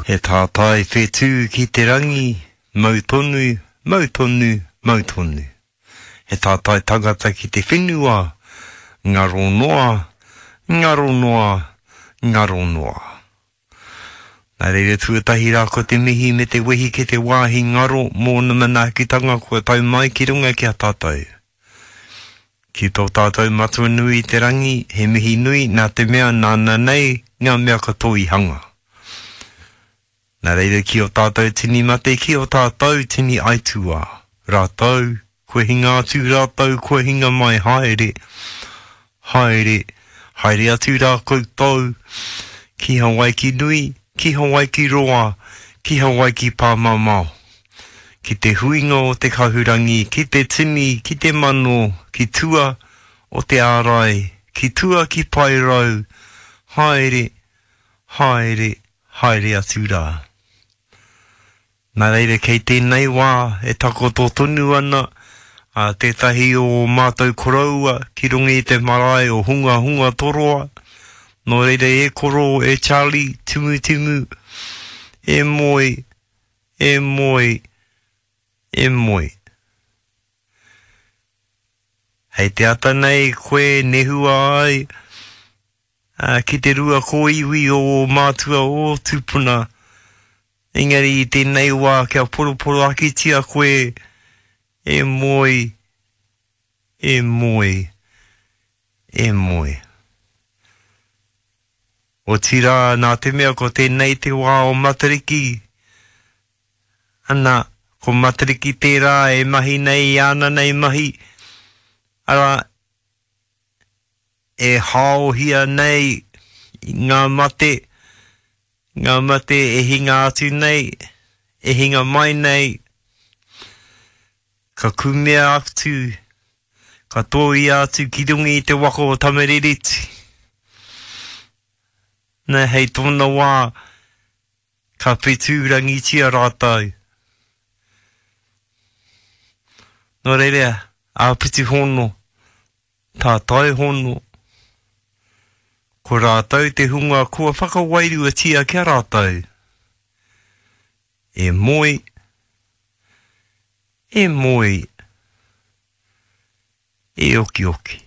He tātai whetū ki te rangi, mau tonu, mau tonu, mau tonu. He tātai tangata ki te whenua, ngaro noa, ngaro noa, ngaro noa. Nā reira tuatahi rā ko te mihi me te wehi ki te wāhi ngaro mōna manaakitanga kua tau mai ki runga ki a tātou. Ki tō tātou Matua nui i te rangi, he mihi nui nā te mea nāna nei ngā mea katoa i hanga. Nā reira ki ō tātou tini mate, ki ō tātou tini aituā, rātou, kua hinga atu rātou, kua hinga mai, haere, haere, haere atu rā koutou, ki Hawaiki nui, ki Hawaiki roa, ki Hawaiki pāmamao, ki te huinga o te kahurangi, ki te tini, ki te mano, ki tua o te ārai, ki tua ki Paerau, haere, haere, haere atu rā. Nā reira kei tēnei wā e takoto tonu ana a tētahi o ō mātou koroua ki runga i te marae o Hungahunga Toroa, nō reira e koro, e Charlie, Timutimu, e moe, e moe, e moe. Hei te ata nei koe nehua ai, ā, ki te rua kōiwi o ō mātua, ō tūpuna, engari i tēnei wā kia poroporoakitia koe e moe, e moe, e moe. Otirā, nā te mea ko tēnei te wā o Matariki, ana, ko Matariki tērā e mahi nei i āna nei mahi, arā, e haohia nei ngā mate, ngā mate e hinga atu nei, e hinga mai nei, ka kumea atu, ka tōia atu ki runga i te waka o Tamarereti. Nā, hei tōna wā, ka whetūrangitia rātou. Nō reira, āpiti hono, Tātai hono, ko rātou te hunga kua whakawairuatia ki a rātou, e moe, e moe, e okioki.